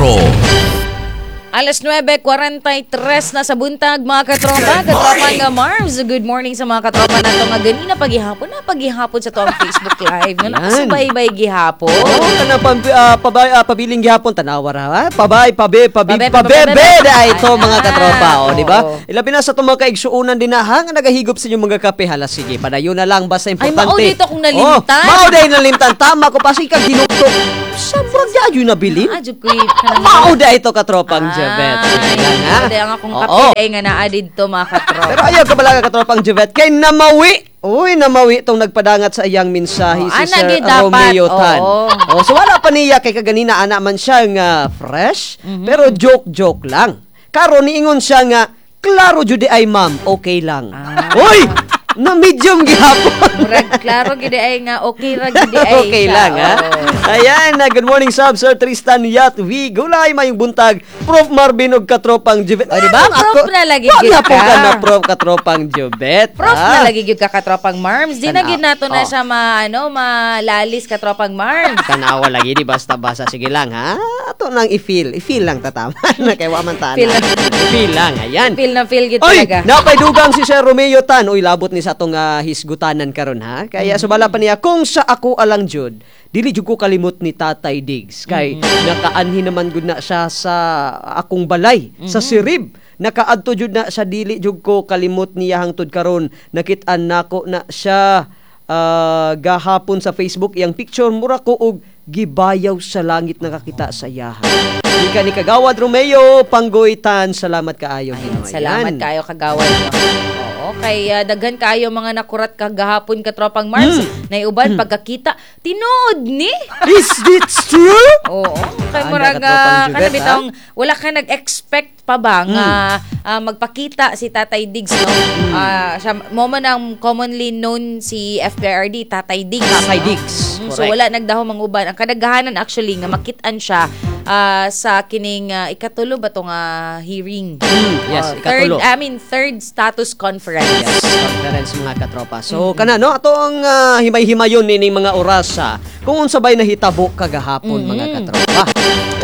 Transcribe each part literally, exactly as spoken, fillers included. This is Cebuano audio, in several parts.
Metro. Alas nuwebe kwarenta y tres na sa buntag, mga katropa, katropa nga Marbs. Good morning sa mga katropa nato nga ganina pagihapon na pagihapon sa tuang Facebook Live. Nga nakasubaybay gihapon. Oo, kana pam, ah, pabay, ah, pabiling gihapon, tanawa ra ha. Pabay, pabe, pabi, Pabe, pabebe pabe, da ito, mga Ayan. katropa, o, di ba? Oo. Ilabi na sa itong mga kaigsuunan din na ha, nga nagahigop sa inyong mga kape, hala sige, padayon na lang basta importante. Mao dito kung nalimtan. Oh, mao dahil nalimtan, tama ko pa kag hinuktok. Sa murag di ayo nabilin. Ah, jud ko'y kanang Mao da ito, katropang Jebet. Sige lang, ha? Ay, ang akong Oo. kape day nga naa didto, mga katropa. Pero ayaw kabalaga, katropang Jebet, kay namawi. Uy, namawi itong nagpadangat sa iyang mensahe Oh, si ana Sir gyud dapat. Romeo Tan. Oo. Oh, so wala pa niya kay kaganina ana man siya nga fresh, Mhm. pero joke-joke lang. Karon niingon siya nga klaro jud ay, ma'am, okay lang. Ah. Uy, na medium gihapon. Murag klaro gid ay nga okay ra gid ay Okay siya. lang, ha? Oo. Ayan, na good morning sab Sir Tristan Yat V. Gulay, mayong buntag. Prof Marvin og katropang Jubet. O, di ba? Prof na lagi Wag gyud na po ka. ka na prof, katropang Jubet. Prof ah. na lagi gyud ka, katropang Marms. Di na Tanaw. gyud nato na Oh. siya ma ano malalis, katropang Marms. Tanawa lagi di basta-basta, sige lang ha. Ato nang i-feel, i-feel lang tatama na kay wa man tana. Feel lang. I-feel lang, ayan. Feel na feel gyud Oy, talaga. napay dugang si Sir Romeo Tan. Uy, labot ni sa atong ah, hisgutanan karon ha. Kaya subala pa niya kung sa ako alang jud, dili jud ko kalimot ni Tatay Diggs kay nakaanhi naman gud na siya sa akong balay sa Sirib. Nakaadto jud na siya, dili jud ko kalimot niya hangtod karon. Nakit-an nako na siya ah, gahapon sa Facebook, iyang picture, mura ko og gibayaw sa langit nakakita sa iyaha. Ika ni Kagawad Romeo Panggoy Tan, salamat kaayo. Ayan, Ginoo. salamat Ayan. kayo, kagawad mo. Oo, kay ah, daghan kayo mga nakurat kagahapon, katropang Marbs. Hmm. Naiuban pagkakita, tinuod ni. Is it true? Oo, kay Ah, murag katropang uh, Jubet, kana ha? bitawng wala ka nag-expect pa ba nga Hmm. ah, magpakita si Tatay Diggs, no? Ah, siya mo man ang commonly known si F P R D, Tatay Diggs. Tatay no? Diggs, Mm, so correct. wala nagdahom ang uban. Ang kadaghanan actually nga makit-an siya ah, sa kining ah, ikatulo ba to nga hearing? Mm, yes, Oh, third, ikatulo. I mean, third status conference. Yes, conference, mga katropa. So kana no, ato ang ah, himay-himayon nining mga orasa kung unsa bay nahitabo kagahapon, mga katropa.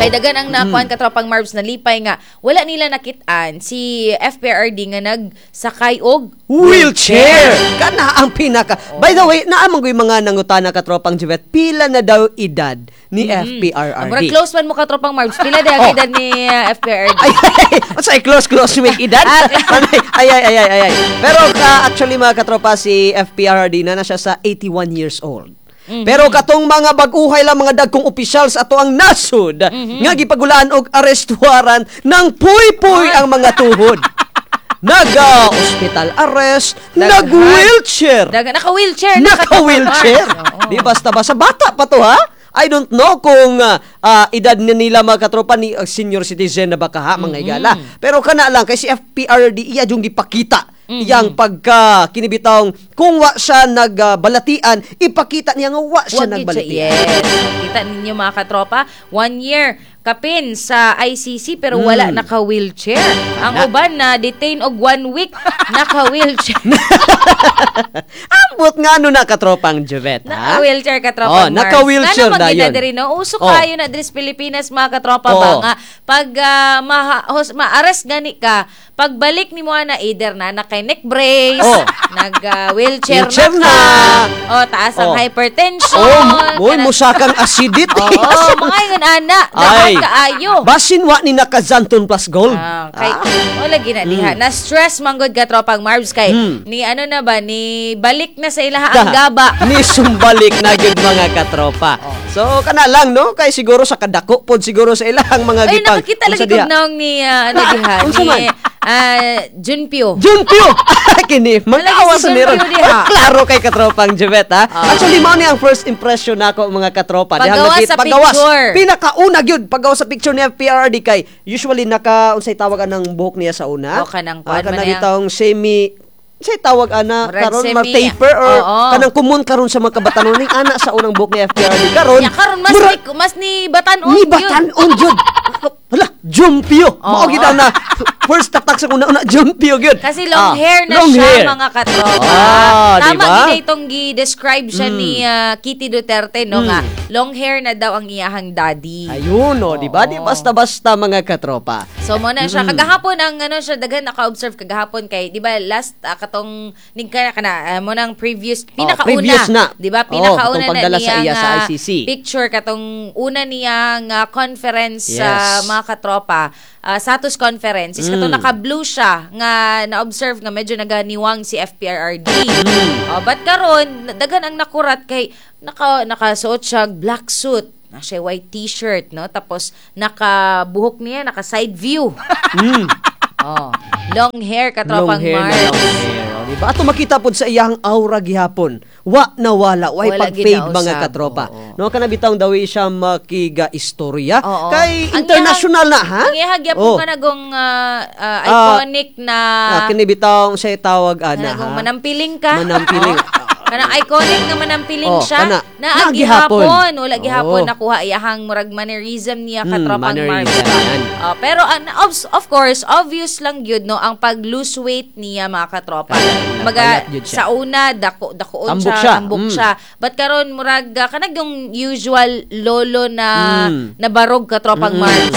Kay dagan ang nakuan, Mm. katropang Marbs, na lipay nga wala nila nakit-an si F P R D nga nagsakay og wheelchair. Kana ang pinaka. By the way, naa man ko'y mga nangutana, katropang Juvet, pila na daw edad ni F P R R D? Murag close man mo, katropang Marbs. Pila daw ang Oh. edad ni uh, F P R D? Ay, ay, ay, close, close make edad. Ay, ay, ay, ay, ay, ay. Pero ka, actually, mga katropa, si F P R R D na na siya sa eighty-one years old. Pero katong mga bag-uhay lang mga dagkong opisyal sa ato ang nasod nga gipagulaan og arrest warrant ng puy-puy ang mga tuhod. Naga hospital arrest, Daghan. nag-wheelchair. Dagan naka-wheelchair na, Naka-wheelchair. katropang Marbs. Oo. Di basta basta bata pa to ha. I don't know kung ah, ah, edad ni nila, mga katropa, ni ah, senior citizen na baka ha, mga igala. Pero kana lang kay si F P R D iya yung gipakita iyang pagka kinibitawng kung wa siya nagbalatian, ipakita niya nga wa siya Wag yun siya. nagbalatian. Yes. Kita ninyo, mga katropa, one year kapin sa I C C pero wala naka-wheelchair. Ang Kana. uban na detain og one week, naka-wheelchair. Ambot nga ano na, katropang Juvet, ha? Naka-wheelchair, katropa Oh, Mars. naka-wheelchair Ngano man dayon. gid na diri, no? Uso Oh. kayo na diri sa Pilipinas, mga katropa Oo. ba nga pag ah, maha, hos, ma-arrest gani ka, pagbalik nimo na either na naka neck brace, Oh. nag ah, wheelchair, Wheelchair na na. ka, oh, taas ang Oh. hypertension. Oh, boy, kanang- musakang acidity. Oo, mga ingon ana, Ay. daghan kaayo. Basin wa ni naka Xanthone Plus Gold. Ah, kay wala gina diha. Na stress manggod ka, tropang Marbs, kay Mm. ni ano na ba ni balik na sa ilaha ang gaba. Ni sumbalik na gyud, mga katropa. Oh. So kana lang no kay siguro sa kadako pod siguro sa ilang mga Ay, gipang. nakakita lagi Unsa kog diha? naong ni ah, ano diha Unsa ni man? ah, Junpyo. Junpyo! Kini, magawa si sa niron. Junpyo diha. Oh, klaro kay katropang Juvet, ha? Ah. Actually, mao ni ang first impression nako, mga katropa. Dihang Paggawa nakit- sa paggawas. picture. Pinakauna gyud paggawas sa picture ni F P R D kay usually naka unsay tawag anang buhok niya sa una? O, kanang Ah, kuan man kanang yang- itong semi say tawag ana Murag karon semi- mar taper or Oo. kanang kumun karon sa mga kabatanon ning ana sa unang buhok ni F P R D karon. Ya karon mas murag- ni mas ni batan-on ni gyud. batan-on jud. Hala, Jumpio. Mao Oo. gid na. First tatak sa una una Junpyo gyud. Kasi long Ah, hair na long siya, hair. Mga katropa. Ah, Tama diba? gid itong gi-describe siya ni ah, Kitty Duterte, no, nga long hair na daw ang iyahang daddy. Ayun, no, di ba? Di Oo. basta-basta, mga katropa. So mo na siya kagahapon ang ano siya, daghan naka-observe kagahapon kay, di ba, last ah, katong ning kana kana ah, mo nang previous, pinakauna, Oh, previous na. di ba, Oh, pinakauna katong na pagdala sa niya iya sa nga I C C. Picture katong una niya nga conference sa Yes. mga katropa, ah, status conference is katong Mm. naka-blue siya nga na-observe nga medyo naganiwang si F P R R D. Mm. Oh, but karon daghan ang nakurat kay naka nakasuot siya og black suit na siya, white T-shirt, no, tapos nakabuhok niya naka side view. Oh, long hair, katropang Long hair na Mars. long hair. O, di ba? Ato makita pod sa iyang aura gihapon. Wa na wala, way Wala pag-fade, ginausab, mga katropa. oo. No, kana bitawng dawi siya makiga istorya Oo. kay Ang international na, ha? Ang iyahag gyapon Oh. ka nagong ah, ah, iconic na Ah, kini bitawng siya tawag ana, kanagong ha. Manampiling ka. Manampiling. Oo. Kanang iconic nga manampiling Oh, siya. kana. Na Na gihapon. gihapon. Wala gihapon Oo. nakuha iyahang murag mannerism niya, Mm, katropang Marvin. mannerism, yan. Oh, pero an of, of course, obvious lang yun, no, ang pag-lose weight niya, mga katropa. Kumbaga, Nagpayat yun siya. sa una dako dakoon Tambok siya, siya. Tambok Mm. siya. But karon murag ah, kanag yung usual lolo na Mm. na barog, katropang Mm. Mars.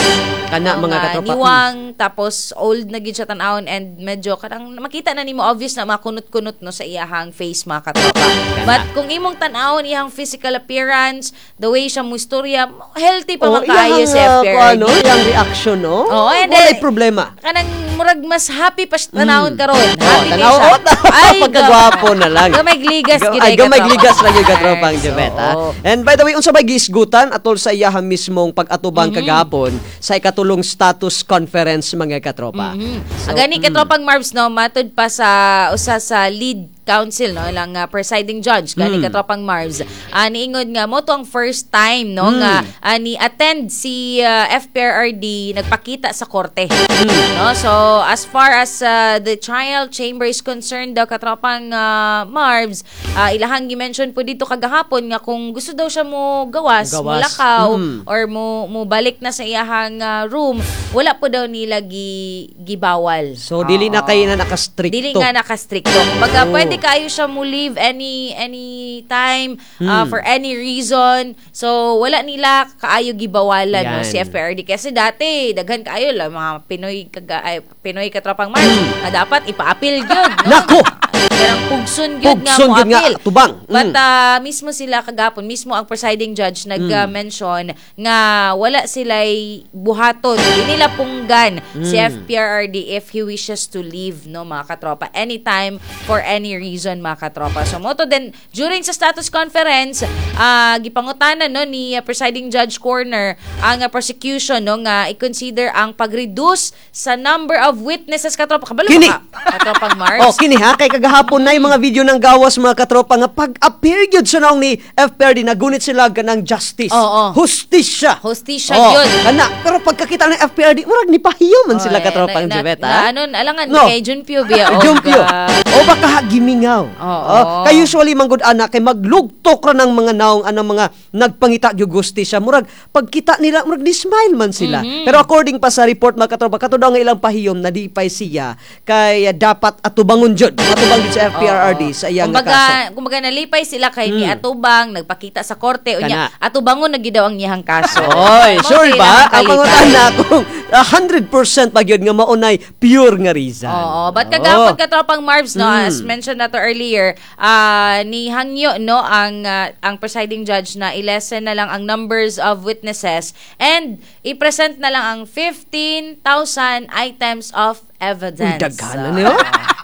Kana, Oo mga nga, katropa. niwang, tapos old na gid siya tan-awon and medyo kanang makita na nimo, obvious na makunot-kunot, no, sa iyahang face, mga katropa. But kung imong tan-awon iyang physical appearance, the way siya mustorya, healthy pa Oh, man kaayo iyang, si ah, F P R D. kung ano, iyang reaction, no? Oo, and walay then- problema. Kanang murag mas happy pa siya tanawon karon. Oh, Happy kay tanaw, siya. oh, pagkagwapo na lang. Gamay gligas Ga- gid Ay, ay, gamay katropang gligas lang yung katropang Mars. Jebet, ha? Oo. And by the way, unsa bay giisgutan atol sa iyaha mismong pag-atubang Mm-hmm. kagahapon sa ikatulong status conference, mga katropa? Mm. So, Agani, katropang Marbs, no, matud pa sa usa sa lead counsel, no, ilang uh, presiding judge gani, Mm. katropang Marbs, uh, niingon nga mo to ang first time, no, Mm. nga ah, ni attend si ah, F P R R D, nagpakita sa korte, Mm. no. So as far as ah, the trial chamber is concerned daw, katropang ah, Marbs, ah, ilahang gi-mention po dito kagahapon nga kung gusto daw siya mo gawas, mo Gawas. lakaw Mm. or mo mo balik na sa iyahang ah, room, wala po daw nila gi, gibawal. So dili na Oo. kay na nakastrikto. Dili nga nakastrikto. Kumbaga, Oo. pwede kayo siya mo leave any any time uh, Hmm. for any reason. So wala nila kaayo gibawalan, no, Yan. si F P R D kasi dati daghan kaayo lang mga Pinoy kaga, ay, Pinoy katropang Mars na dapat ipa-appeal gyud, no? Nako! Kanang pugson gyud nga Pugson mo gyud nga, appeal. tubang. But Mm. ah, mismo sila kagapon, mismo ang presiding judge nag-mention nga wala sila'y buhaton. Di nila punggan si Mm. F P R R D if he wishes to leave, no, mga katropa. Anytime, for any reason, mga katropa. So, mo to then, during sa status conference, ah gipangutanan, no, ni ah, presiding judge Corner ang ah, prosecution, no, nga i-consider ang pag-reduce sa number of witnesses, katropa. Kabalo Kini. ba ka, katropang Mars? Oh, kini ha, kay kagahapon na yung mga video ng gawas, mga katropa, nga pag-appear gyud sa naong ni F P R D, nagunit sila ganang justice. Oo. Hustisya. Hustisya Oh, gyud. kana, pero pagkakita ng F P R D, murag ni pahiyo man sila, Oh, eh, katropang na, Jebet, na, ha? ano, alangan No. kay Junpyo biya og, Jumpio. ah, O baka gimingaw. Oo. Oh, kay usually manggod ana kay maglugtok ra ng mga naong anang mga nagpangita gyud hustisya. Murag pagkita nila murag ni smile man sila. Mm-hmm. Pero according pa sa report, mga katropa, kato daw nga ilang pahiyom nadipay siya kay eh, dapat atubangon jud. Atubang jud sa F P R R D sa iyang kumbaga, kaso. Mm. Kumbaga nalipay sila kay ni atubang, nagpakita sa korte unya Kana. atubangon na gyud daw ang iyang kaso. Oy, Mao sure to ba? ilang Ang kalipay. pangutana kung uh, one hundred percent pa gyud nga maunay pure nga reason. Oo, but Oo. kagapon, katropang Marbs, no, Mm. as mentioned na to earlier, ah, ni hangyo, no, ang ah, ang presiding judge na i-lessen na lang ang numbers of witnesses and i-present na lang ang fifteen thousand items of evidence. Uy, daghan na niyo.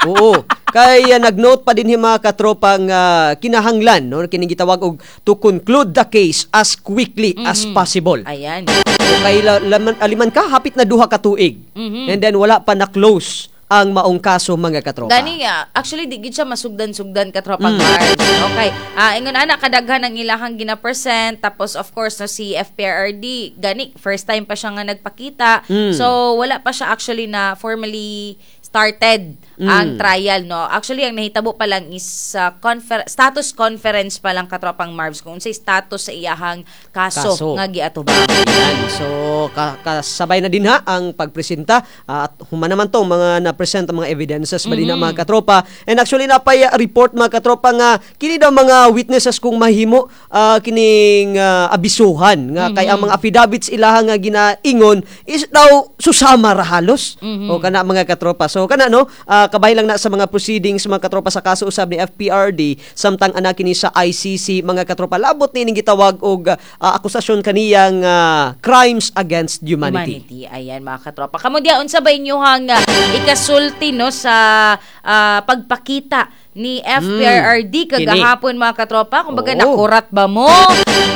Oo. Kay uh, nagnote pa din hi mga katropang uh, kinahanglan, no, kining gitawag og to conclude the case as quickly as possible. Ayan. So, kay la, laman, aliman ka hapit na duha ka tuig. Mm-hmm. And then wala pa na close ang maong kaso, mga katropa. Gani nga, actually di gid siya masugdan-sugdan, katropang Mm. Mars. Okay. Ah, ingon ana kadaghan ang ilahang gina-present, tapos of course, no, si F P R R D gani first time pa siya nga nagpakita. Mm. So wala pa siya actually na formally started Mm. ang trial, no? Actually, ang nahitabo pa lang is uh, confer- status conference pa lang, katropang Marvs, kung unsay status sa iyahang kaso, Kaso. nga giatubang. Yan. So, ka- kasabay na din ha ang pagpresenta ah, at human naman to mga na-present ang mga evidences ba din na mga katropa. And actually napay report, mga katropa, nga kini daw mga witnesses kung mahimo ah, kining ah, abisuhan nga kay ang mga affidavits ilaha nga ginaingon is daw susama ra halos. O kana, mga katropa. So kana, no, ah, kabay lang na sa mga proceedings, mga katropa, sa kaso usab ni F P R D samtang anak kini sa I C C, mga katropa, labot ni ning gitawag og ah, akusasyon kaniyang ah, crimes against humanity. Humanity. Ayan, mga katropa. Kamo diya, unsa ba inyuhang uh, ikasulti, no, sa ah, pagpakita ni F P R R D kagahapon, mga katropa? Kumbaga, Oo. nakurat ba mo?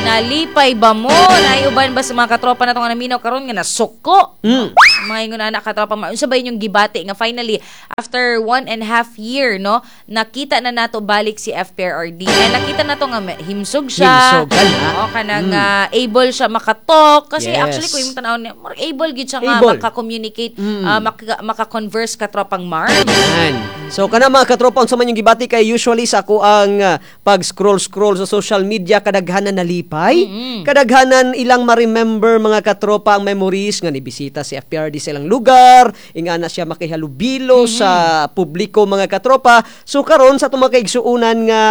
Nalipay ba mo? Naiuban ba sa mga katropa na itong naminaw karon nga nasuko? Mm. Mga ingon ana, katropa, ma- unsa ba inyong gibati nga finally after one and a half year, no, nakita na nato balik si F P R R D and nakita nato nga may- himsog siya. Himsog ka na. Oo, kanang ah, able siya makatalk kasi Yes. actually kung imong tan-awon niya, more able gyud siya nga Able. maka-communicate, Mm. ah, maka, maka-converse, katropang Marv. Yan. So kana, mga katropa, unsa man yung gibati kay usually sa ako ang ah, pag-scroll-scroll sa social media, kadaghanan nalipay. Kadaghanan ilang ma-remember, mga katropa, ang memories nga nibisita si F P R D sa ilang lugar, ingana siya makihalubilo sa publiko, mga katropa. So karon sa atong mga kaigsuonan nga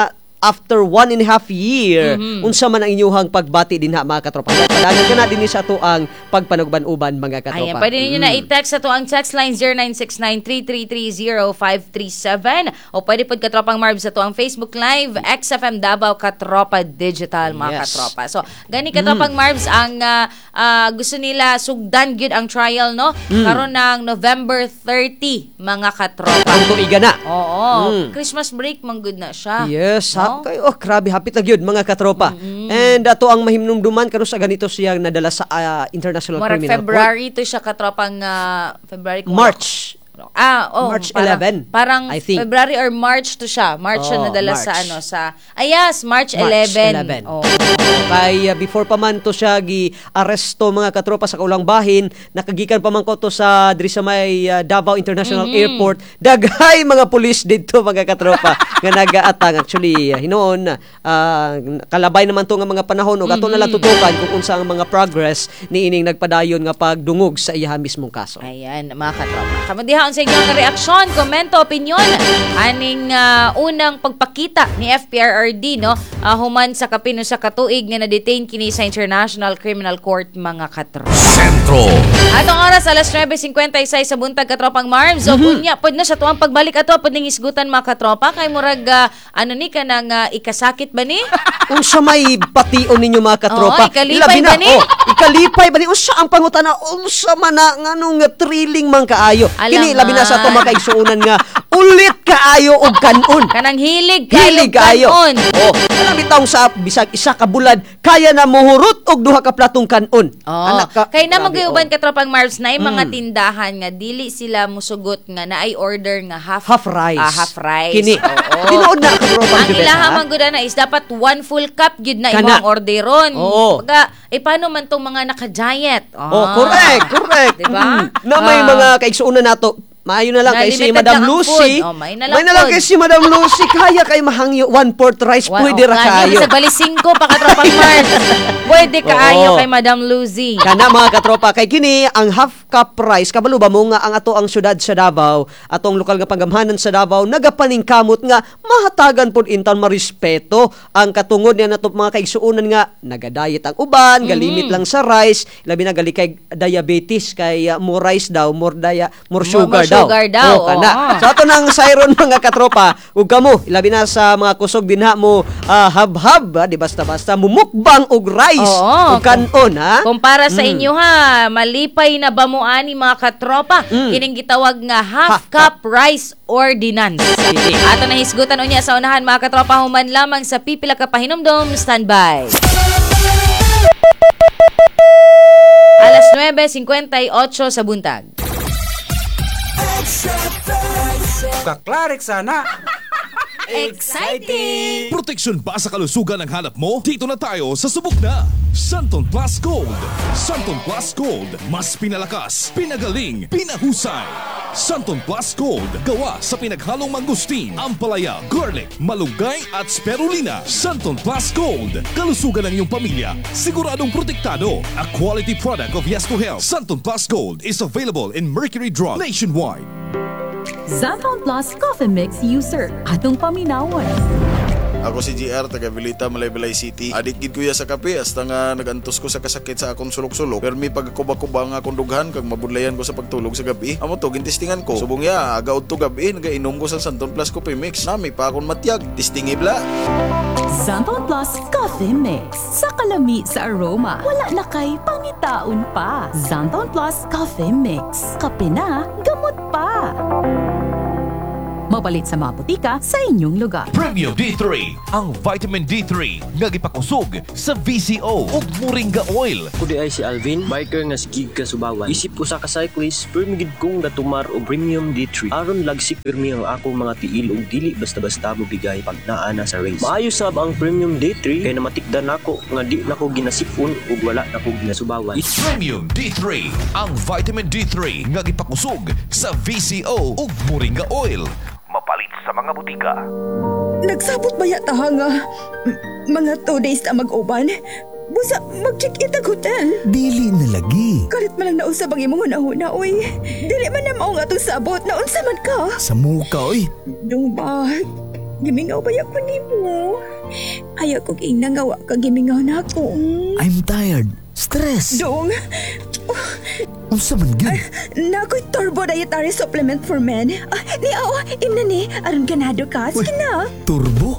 after one and a half year, unsa man ang inyuhang pagbati dinha, mga katropa? Padangan ka na dinhi sa ato ang pagpanugban-uban, mga katropa. Ayan, pwede ninyo Mm. na i-text sa ang text line zero nine six nine, three three three, zero five three seven o pwede pod, katropang Marv, sa ang Facebook Live, X F M Davao Katropa Digital, mga Yes. katropa. So, gani, katropang Marvs, ang ah, ah, gusto nila sugdan gyud ang trial, no? Mm. Karon ng November thirty, mga katropa. Ang tuiga na. Oo, Mm. Christmas break man gud na siya. Yes, No? ha, kay oh grabe, hapit na gyud, mga katropa. And ato ang mahimnumduman karon sa ganito siya nadala sa ah, International Murag Criminal Court. February to siya, katropang ah, February kung March. Ah, oh, March parang, eleven, parang I think. February or March to siya. March siya Oh, nadala sa March. ano sa Ah, yes, March March eleven. eleven. Oh. Kay uh, before pa man to siya gi-aresto, mga katropa, sa kaulang bahin, nakagikan pa man ko to sa diri sa may uh, Davao International Mm-hmm. Airport. Daghay mga pulis didto, mga katropa, nga nagaatang. Actually uh, hinuon uh, kalabay naman to nga mga panahon ug ato na lang Mm-hmm. tutukan kung unsa ang mga progress niining nagpadayon nga pagdungog sa iyaha mismong kaso. Ayan, mga katropa. Kamo diha, sa inyong reaksyon, komento, opinion aning ah, unang pagpakita ni F P R R D, no, Ah, human sa kapin usa ka tuig nga na-detain kini sa International Criminal Court, mga katropa. Sentro. Atong oras alas nuwebe singkwenta y sais sa buntag, katropang Marms. O kunya pod na sa tuang pagbalik ato pod ning isgutan, mga katropa, kay murag ah, ano ni kanang ah, ikasakit ba ni? Unsa may bation ninyo, mga katropa? Oo, ikalipay Labi na, ba ni? Oh, ikalipay ba ni? Unsa ang pangutana? Unsa man na nganong nga thrilling man kaayo? Kini Alangan. labi na sa atong mga kaigsuonan nga ulit kaayo og kanon. Kanang hilig kaayo Hilig kaayo. kanon. Oh, kanang bitawng sa bisag isa ka bulad kaya na muhurot og duha ka platong kanon. Oh. Anak ka. Kay na grabe, magyuban oh. katropang Marvs na mga tindahan nga dili sila musugot nga naay order nga half Half rice. Ah, half rice. Kini. Oo. Tinuod na, katropang Ang Jubet, ilaha ha? man gud na is dapat one full cup gyud na Kana. imong orderon. Oo. Baga, eh paano man tong mga naka-diet? Oh, correct, correct. Diba? Mm. Na may Ah. mga kaigsuonan nato. Maayo na lang Na kay si limited Madam lang ang Lucy. food. Oh, may na lang May na lang food. kay si Madam Lucy. Kaya kay mahangyo one fourth rice. Wa- Pwede ra oh, kaayo. Sa bali singko pa, katropang Mars. Pwede kaayo Oo. kay Madam Lucy. Kana, mga katropa, kay kini ang half cup rice, kabalo ba mo nga ang ato ang syudad sa Davao, atong lokal nga panggamhanan sa Davao nagapaningkamot nga mahatagan pod intan marespeto ang katungod niya nato mga kaigsuonan nga nagadayet ang uban, galimit lang sa rice, labi na gali kay diabetes kay uh, more rice daw, more dia, more More- sugar more daw. Sugar daw, Oh, kana. oo. So ato nang sayron, mga katropa, ug kamo labi na sa mga kusog dinha mo ah, habhab, ah, di basta-basta mumukbang og rice Oo. ug kanon ha. Kumpara sa inyo ha, malipay na ba mo ani, mga katropa? Mm. Kining gitawag nga half Half cup rice ordinance. Sige. Ato na hisgutan unya sa unahan, mga katropa, human lamang sa pipila ka pahinumdom, standby. Alas nuwebe singkwenta y otso sa buntag. Kaklarik sana. Exciting! Proteksyon ba sa kalusugan ang hanap mo? Dito na tayo sa subok na. Santon Plus Gold. Santon Plus Gold. Mas pinalakas, pinagaling, pinahusay. Xanthone Plus Gold, gawa sa pinaghalong mangosteen, ampalaya, garlic, malunggay at spirulina. Xanthone Plus Gold, kalusugan ng iyong pamilya, siguradong protektado. A quality product of Yes to Health. Xanthone Plus Gold is available in Mercury Drug nationwide. Xanthone Plus Coffee Mix user. Atong paminawon. Ako si G R, taga Vilita, Malaybalay City. Adik gid kuya sa kape, hasta nga nagantos ko sa kasakit sa akong sulok-sulok. Pero may pagkuba-kuba nga akong dughan, kag mabudlayan ko sa pagtulog sa gabi. Amo to, gintistingan ko. Subong ya, aga udto gabi, nagainom ko sa Xanthone Plus Coffee Mix. Nami pa akong matyag. Tistingi bla. Xanthone Plus Coffee Mix. Sa kalami sa aroma, wala na kay pangitaon pa. Xanthone Plus Coffee Mix. Kape na, gamot pa. Mapalit sa mga botika sa inyong lugar. Premium D three, ang vitamin D three nga gipakusog sa V C O ug Moringa oil. Ako diay si Alvin, biker nga sigig kasubawan. Isip usa ka cyclist, pirmi gid kong gatumar og Premium D three. Aron lagsik pirmi ang akong mga tiil ug dili basta-basta mobigay pag naa na sa race. Maayo sab ang Premium D three kay namatikdan nako nga di nako ginasipon ug wala nako ginasubawan. Premium D three, ang vitamin D three nga gipakusog sa V C O ug Moringa oil. Mapalit sa mga butika. Nagsabot ba yata nga m- mga two days na mag-uban? Busa, mag-check-in tag hotel. Dili na lagi. Kalit man lang nausab ang imong hunahuna, oy. Dili man na mao nga atong sabot, naunsa man ka? Sa muka, oy. Dong ba, gimingaw ba ko nimo? Ayaw kong ingna nga wa ka gimingaw na ako. I'm tired. Stress. Dong, Unsa man gyud? Naa ko'y Turbo Dietary Supplement for Men. Ah, ni aw, imna ni, aron ganado ka. Sige na. Turbo?